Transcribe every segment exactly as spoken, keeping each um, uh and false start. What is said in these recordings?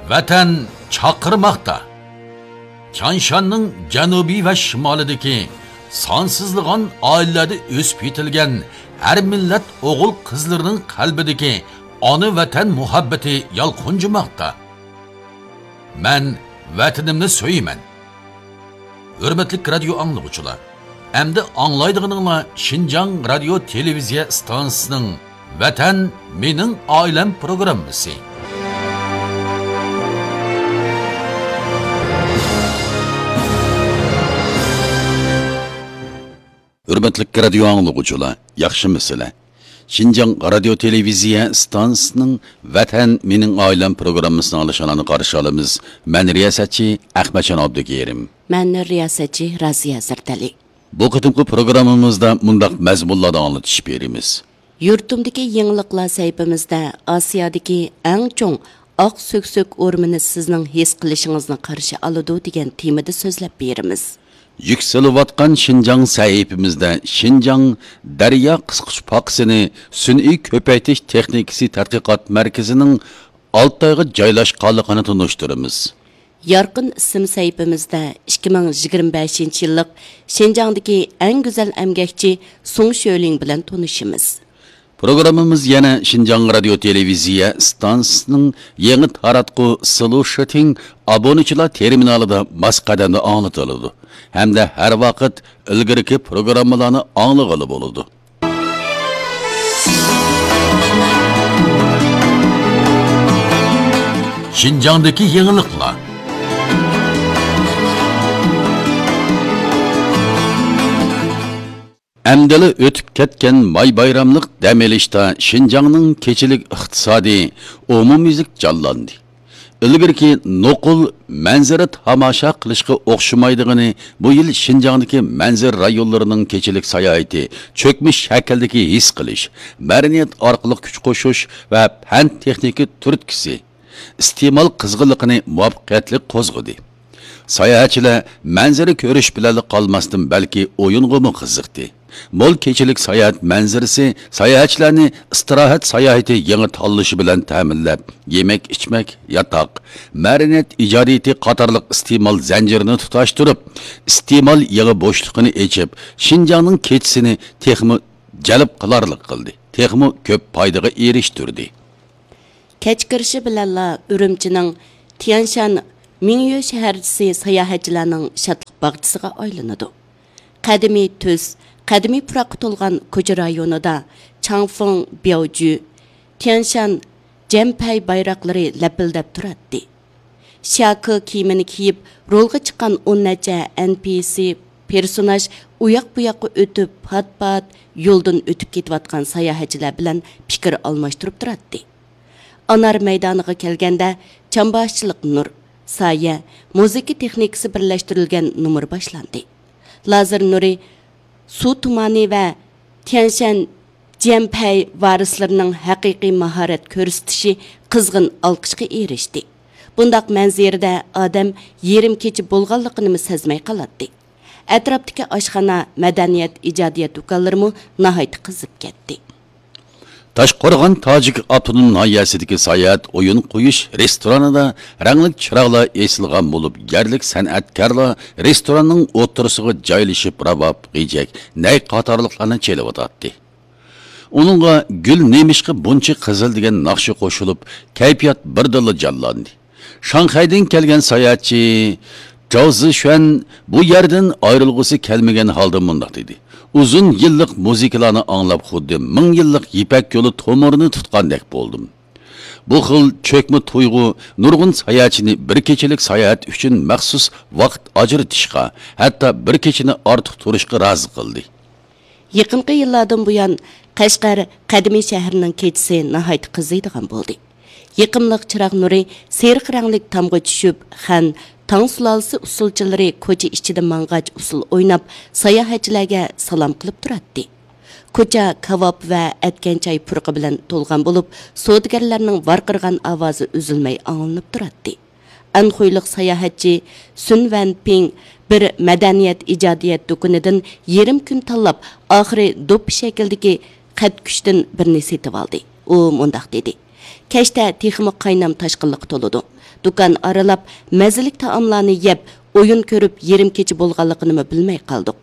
ۋەتەن چاقىرماقتا. تيانشاننىڭ جەنۇبى ۋە شىمالىدىكى سانسىزلىغان ئائىلىلەردە ئۆسۈپ يېتىلگەن ھەر مىللەت ئوغۇل-قىزلىرىنىڭ قەلبىدىكى ئانا ۋەتەن مۇھەببىتى يالقۇنجىماقتا. مەن ۋەتىنىمنى سۆيىمەن. ھۆرمەتلىك رادىيو ئاڭلىغۇچىلار، ئەمدى ئاڭلايدىغىنىڭلار شىنجاڭ رادىيو تېلېۋىزىيە ئىستانسىسىنىڭ ۋەتەن مېنىڭ ئائىلەم پروگراممىسى. ھۆرمەتلىك رادىيو ئاڭلىغۇچىلار، ياخشىمۇسىلەر؟ شىنجاڭ رادىيو تېلېۋىزىيە ئىستانسىسىنىڭ ۋەتەن مېنىڭ ئائىلەم پروگراممىسىنى ئاڭلىشىڭلارنى قارشى ئالىمىز. مەن رىياسەتچى ئەخمەتجان ئابدۇكېرىم. مەن رىياسەتچى رازىيە زەردەلى. بۇ قېتىمقى پروگراممىمىزدا مۇنداق مەزمۇنلاردا ئاڭلىتىش بېرىمىز. يۇرتۇمدىكى يېڭىلىقلار سەھىپىمىزدە ئاسىيادىكى ئەڭ چوڭ ئاق سۆكسۆك ئورمىنى سىزنىڭ ھېس قىلىشىڭىزنى قارشى ئالىدۇ دېگەن تېمىدا سۆزلەپ بېرىمىز. يۈكسىلىۋاتقان شىنجاڭ سەھىپىمىزدە شىنجاڭ دەريا قىسقۇچ پاكىسىنى سۈنئىي كۆپەيتىش تېخنىكىسى تەتقىقات مەركىزىنىڭ ئالتايغا جايلاشقانلىقىنى تونۇشتۇرىمىز. يارقىن ئىسىم سەھىپىمىزدە ئىككى مىڭ يىگىرمە بەشىنچى يىللىق شىنجاڭدىكى ئەڭ گۈزەل ئەمگەكچى سۇڭ شۆلىڭ بىلەن تونۇشىمىز. پروگراممىمىز يەنە شىنجاڭ رادىيو تېلېۋىزىيە ئىستانسىسىنىڭ يېڭى تاراتقۇ سلۇشىتىڭ ئابۇنىچىلار تېرمىنالىدا ماس قەدەمدە ئاڭلىتىلىدۇ ھەمدە ھەر ۋاقىت ئىلگىرىكى پروگراممىلارنى ئاڭلىغىلى بولىدۇ. شىنجاڭدىكى يېڭىلىقلار. ئەمدىلا ئۆتۈپ كەتكەن ماي بايراملىق دەم ئېلىشتا شىنجاڭنىڭ كېچىلىك ئىقتىسادى ئومۇميۈزلۈك جانلاندى. ئىلگىرىكى نوقۇل مەنزىرە تاماشا قىلىشقا ئوخشىمايدىغىنى، بۇ يىل شىنجاڭدىكى مەنزىرە رايونلىرىنىڭ كېچىلىك ساياھىتى چۆكمە شەكىلدىكى ھېس قىلىش، مەدەنىيەت ئارقىلىق كۈچ قوشۇش ۋە پەن تېخنىكا تۈرتكىسى ئىستېمال قىزغىنلىقىنى مۇۋەپپەقىيەتلىك قوزغىدى. ساياھەتچىلەر مەنزىرە كۆرۈش بىلەنلا قالماستىن، بەلكى ئويۇنغىمۇ قىزىقتى. مول كېچىلىك ساياھەت مەنزىرىسى ساياھەتچىلەرنى ئىستىراھەت ساياھىتى يېڭى تاللىشى بىلەن تەمىنلەپ، يېمەك-ئىچمەك، ياتاق، مەدەنىيەت ئىجادىيىتى قاتارلىق ئىستېمال زەنجىرىنى تۇتاشتۇرۇپ، ئىستېمال يېڭى بوشلۇقىنى ئېچىپ، شىنجاڭنىڭ كېچىسىنى تېخىمۇ جەلپ قىلارلىق قىلدى، تېخىمۇ كۆپ پايدىغا ئېرىشتۈردى. كەچ كىرىشى بىلەنلا ئۈرۈمچىنىڭ تيەنشان مىڭيۆ شەھەرچىسى ساياھەتچىلەرنىڭ شادلىق باغچىسىغا ئايلىنىدۇ. قەدىمىي تۈس، قەدىمىي پۇراققا تولغان كوچا رايونىدا چاڭفېڭ، بياۋجۈ، تيەنشان، جيەنپەي بايراقلىرى لەپىلدەپ تۇراتتى. شياكې كىيىمىنى كىيىپ، رولغا چىققان ئون نەچچە ئەن پىي سى پېرسوناژ ئۇياق-بۇياققا ئۆتۈپ، پات-پات يولدىن ئۆتۈپ كېتىۋاتقان ساياھەتچىلەر بىلەن پىكىر ئالماشتۇرۇپ تۇراتتى. ئانار مەيدانىغا كەلگەندە، چامباشچىلىق نۇر، سايە، مۇزىكا تېخنىكىسى بىرلەشتۈرۈلگەن نومۇر باشلاندى. لازېر نۇرى، سۇ تۇمانى ۋە تيەنشەن جيەنپەي ۋارىسلىرىنىڭ ھەقىقىي ماھارەت كۆرسىتىشى قىزغىن ئالقىشقا ئېرىشتى. بۇنداق مەنزىرىدە ئادەم يېرىم كېچە بولغانلىقىنىمۇ سەزمەي قالاتتى. ئەتراپتىكى ئاشخانا، مەدەنىيەت، ئىجادىيەت دۇكانلىرىمۇ ناھايىتى قىزىپ كەتتى. تاشقورغان تاجىك ئاپتونوم ناھىيەسىدىكى ساياھەت ئويۇن قويۇش رېستورانىدا رەڭلىك چىراغلار ئېسىلغان بولۇپ، يەرلىك سەنئەتكارلار رېستوراننىڭ ئوتتۇرىسىغا جايلىشىپ، راۋاب، غېجەك، نەي قاتارلىقلارنى چېلىۋاتاتتى. ئۇنىڭغا گۈل نېمىشقا بۇنچە قىزىل دېگەن ناخشا قوشۇلۇپ، كەيپىيات بىردىنلا جانلاندى. شاڭخەيدىن كەلگەن ساياھەتچى جاۋ زىشۈەن بۇ يەردىن ئايرىلغۇسى كەلمىگەن ھالدا مۇنداق دېدى: «ئۇزۇن يىللىق مۇزىكىلارنى ئاڭلاپ، خۇددى مىڭ يىللىق يىپەك يولى تومۇرىنى تۇتقاندەك بولدۇم.» بۇ خىل چۆكمە تۇيغۇ نۇرغۇن ساياھەتچىنى بىر كېچىلىك ساياھەت ئۈچۈن مەخسۇس ۋاقىت ئاجرىتىشقا، ھەتتا بىر كېچىنى ئارتۇق تۇرۇشقا رازى قىلدى. يېقىنقى يىللاردىن بۇيان، قەشقەر قەدىمىي شەھىرىنىڭ كېچىسى ناھايىتى قىزىيدىغان بولدى. يېقىملىق چىراغ نۇرى سېرىق رەڭلىك تامغا چۈشۈپ، خەن، تاڭ سۇلالىسى ئۇسسۇلچىلىرى كوچا ئىچىدە ماڭغاچ ئۇسسۇل ئويناپ، ساياھەتچىلەرگە سالام قىلىپ تۇراتتى. كوچا كاۋاپ ۋە ئەتكەن چاي پۇرىقى بىلەن تولغان بولۇپ، سودىگەرلەرنىڭ ۋارقىرىغان ئاۋازى ئۈزۈلمەي ئاڭلىنىپ تۇراتتى. ئەنخۇيلۇق ساياھەتچى سۈن ۋەنپىڭ بىر مەدەنىيەت ئىجادىيەت دۇكىنىدىن يېرىم كۈن تاللاپ، ئاخىرى دوپپا شەكلىدىكى قەدكۈچتىن بىرنى سېتىۋالدى. ئۇ مۇنداق دېدى: «كەچتە تېخىمۇ قاينام تاشقىنلىققا تولىدۇ. دۇكان ئارىلاپ، مەززىلىك تائاملارنى يەپ، ئويۇن كۆرۈپ، يېرىم كېچە بولغانلىقىنىمۇ بىلمەي قالدۇق.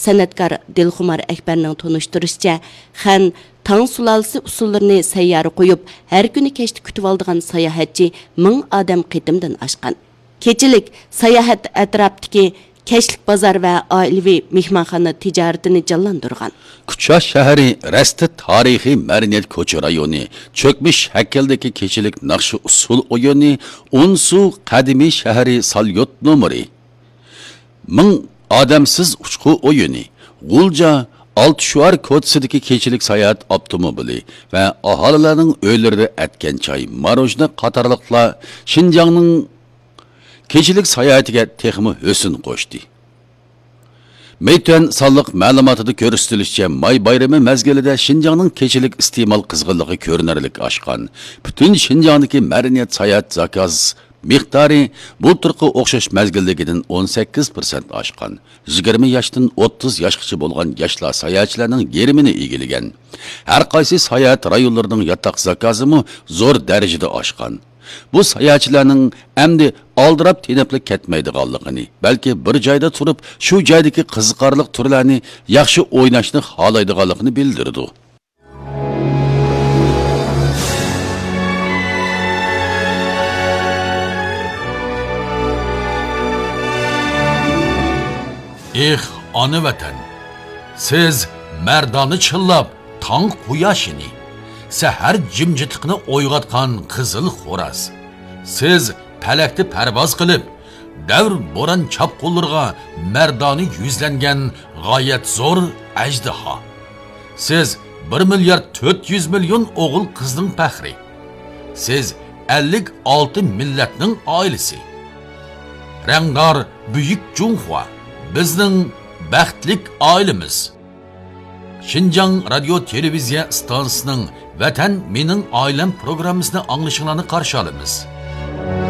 سەنئەتكار دىلخۇمار ئەكبەرنىڭ تونۇشتۇرۇشىچە، خەن، تاڭ سۇلالىسى ئۇسسۇللىرىنى سەييارە قويۇپ، ھەر كۈنى كەچتە كۈتۈۋالىدىغان ساياھەتچى مىڭ ئادەم قېتىمدىن ئاشقان. كېچىلىك ساياھەت ئەتراپتىكى كەچلىك بازار ۋە ئائىلىۋى مېھمانخانا تىجارىتىنى جانلاندۇرغان. كۇچا شەھىرى رەستە تارىخىي مەدەنىيەت كوچا رايونى، چۆكمىش شەكىلدىكى كېچىلىك ناخشا ئۇسسۇل ئويۇنى، ئونسۇ قەدىمىي شەھىرى ساليوت نومۇرى، مىڭ ئادەمسىز ئۇچقۇ ئويۇنى، غۇلجا ئالتە شوئار كوچىسىدىكى كېچىلىك ساياھەت ئاپتوموبىلى ۋە ئاھالىلەرنىڭ ئۆيلىرىدە ئەتكەن چاي، ماروژنا قاتارلىقلار شىنجاڭنىڭ كېچىلىك ساياھىتىگە تېخىمۇ ھۆسن قوشتى. مەيتۈەن سانلىق مەلۇماتىدا كۆرسىتىلىشىچە، ماي بايرىمى مەزگىلىدە شىنجاڭنىڭ كېچىلىك ئىستېمال قىزغىنلىقى كۆرۈنەرلىك ئاشقان. پۈتۈن شىنجاڭدىكى مەدەنىيەت ساياھەت زاكاز مىقدارى بۇلتۇرقى ئوخشاش مەزگىلدىكىدىن ئون سەككىز پىرسەنت ئاشقان. يىگىرمە ياشتىن ئوتتۇز ياشقىچە بولغان ياشلار ساياھەتچىلەرنىڭ يېرىمىنى ئىگىلىگەن. ھەر قايسى ساياھەت رايونلىرىنىڭ ياتاق زاكازىمۇ زور دەرىجىدە ئاشقان. بۇ ساياھەتچىلەرنىڭ ئەمدى ئالدىراپ تېنەپلا كەتمەيدىغانلىقىنى، بەلكى بىر جايدا تۇرۇپ، شۇ جايدىكى قىزىقارلىق تۈرلەرنى ياخشى ئويناشنى خالايدىغانلىقىنى بىلدۈرىدۇ. ئېھ، ئانا ۋەتەن! سىز مەردانە چىللاپ، تاڭ قۇياشىنى، سەھەر جىمجىتلىقىنى ئويغاتقان قىزىل خوراز. سىز پەلەكتە پەرۋاز قىلىپ، دەۋر بوران چاپقۇنلىرىغا مەردانە يۈزلەنگەن غايەت زور ئەجدىھا. سىز بىر مىليارد تۆت يۈز مىليون ئوغۇل قىزنىڭ پەخرى. سىز ئەللىك ئالتە مىللەتنىڭ ئائىلىسى. رەڭدار بۈيۈك جۇڭخۇا، بىزنىڭ بەختلىك ئائىلىمىز. شىنجاڭ رادىيو تېلېۋىزىيە ئىستانسىسىنىڭ ۋەتەن مېنىڭ ئائىلەم پروگراممىسىنى ئاڭلىشىڭلارنى قارشى ئالىمىز.